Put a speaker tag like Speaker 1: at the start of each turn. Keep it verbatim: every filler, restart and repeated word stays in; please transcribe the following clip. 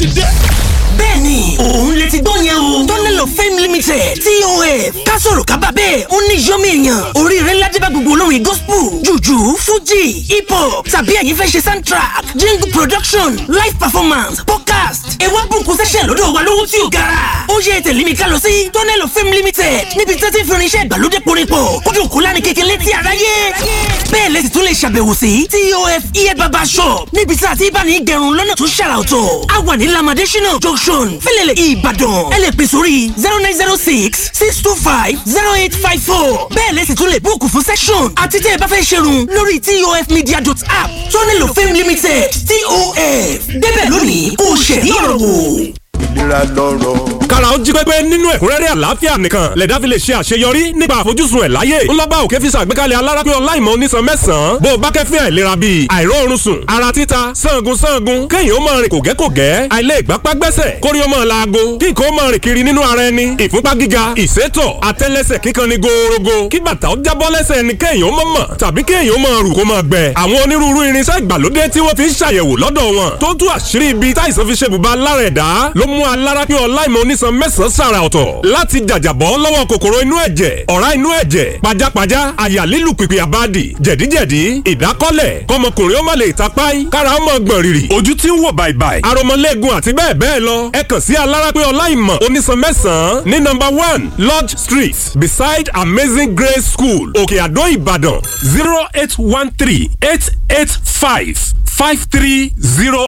Speaker 1: ti dé.
Speaker 2: Bẹ́ẹ̀ni, òun lè ti gbọ́ yẹn o. Tunnel of Fame Limited, T O F. Ká sọ̀rọ̀ ká bá bẹ́ẹ̀, ó ní yọ́mí èèyàn. Oríire ńlá dé bá gbogbo olórin gospel, jùjú, fújì, hip hop, tàbí ẹ̀yin fẹ́ ṣe soundtrack, jingle production, live performance, podcast. Ẹ wá bùkún sẹ́sẹ̀ lọ́dọ̀ wa lówó tí ò gara. Ó yẹ tẹ̀lé mi ká lọ sí Tunnel of Fame Limited, níbi tí wọ́n ti ń fi irinṣẹ́ ìgbàlódé porin pọ̀ kójú òkú lánìí kékeré létí aráyé. Bẹ́ẹ̀ lẹ́sì tún lè ṣàbẹ̀wò sí T O F Ear Barber Shop, níbi tí a ti bá ní gẹrun lọ́nà tó ṣàrà ọ̀tọ̀. A wà ní Lamadesina Junction, Fẹ́lẹ́lẹ̀, Ìbàdàn. Ẹ lè pè sórí zero nine zero six six two five zero eight five four. Bẹ́ẹ̀ lẹ́sì tún lè búùkù fún session àti tẹ́ ẹ bá fẹ́ ṣerun lórí T O F media dot app. Tunnel of Fame Limited, T O F, débẹ̀ lónìí kó o ṣẹ̀rí ọ̀rọ̀ wò.
Speaker 3: Ìlera lọ́rọ̀.
Speaker 4: Kára ó jí pépé nínú ẹ̀kúnrẹ́rẹ́ àlàáfíà nìkan lẹ̀dá fi lè ṣe àṣeyọrí nípa àfojúsùn ẹ̀ láyé. Ńlọ́ba òkè fi ṣàgbékalẹ̀ alárápé ọláìmọ̀ onísan mẹ́sàn-án bó o bá kẹ́fín àìlera bíi àìróorun sùn, ara títa, sangun sangun, kéèyàn ó máa rìn kògẹ́kògẹ́, àìlè ìgbápá gbẹ́sẹ̀, kórí ó máa laago, kí nǹkan ó máa rìn kiri nínú ara ẹni, ìfúnpá gíga, ìsétọ̀, àtẹ́lẹsẹ̀ kíkan ni gòòrògò, kí bàtà ó jábọ́ lẹ́sẹ̀ ẹni, kéèyàn ó máa mọ̀ tàbí kéèyàn ó máa rù kó máa gbẹ. Àwọn onírúurú irinṣẹ́ ìgbàlódé tí wọ́n fi ń ṣàyẹ̀wò lọ́dọ̀ wọn tó tú àṣírí ibi táìsàn fi ṣe bùbá lára ẹ̀dá ló mú alárápé ọláìmọ̀ onísan mẹ́sàn-án sàrà ọ̀tọ̀ láti jàjàbọ́ lọ́wọ́ kòkòrò inú ẹ̀jẹ̀, ọ̀rá inú ẹ̀jẹ̀, pajápajá, àyà lílù pìpì àbádì, jẹ̀díjẹ̀dí, ìdákọ́lẹ̀, kọmọkùnrin ó má lè tapáì, kára ó mọ̀ gbọ̀n rìrì, ojú tí ń wò bàìbàì, aromọlẹ́gun àti bẹ́ẹ̀ bẹ́ẹ̀ lọ. Ẹ kàn sí alárápé ọláìmọ̀ onísan mẹ́sàn-án ní number one Lodge Street, beside Amazing Grace School, Òkè Àdó, Ìbàdàn, zero eight one three eight eight five five three zero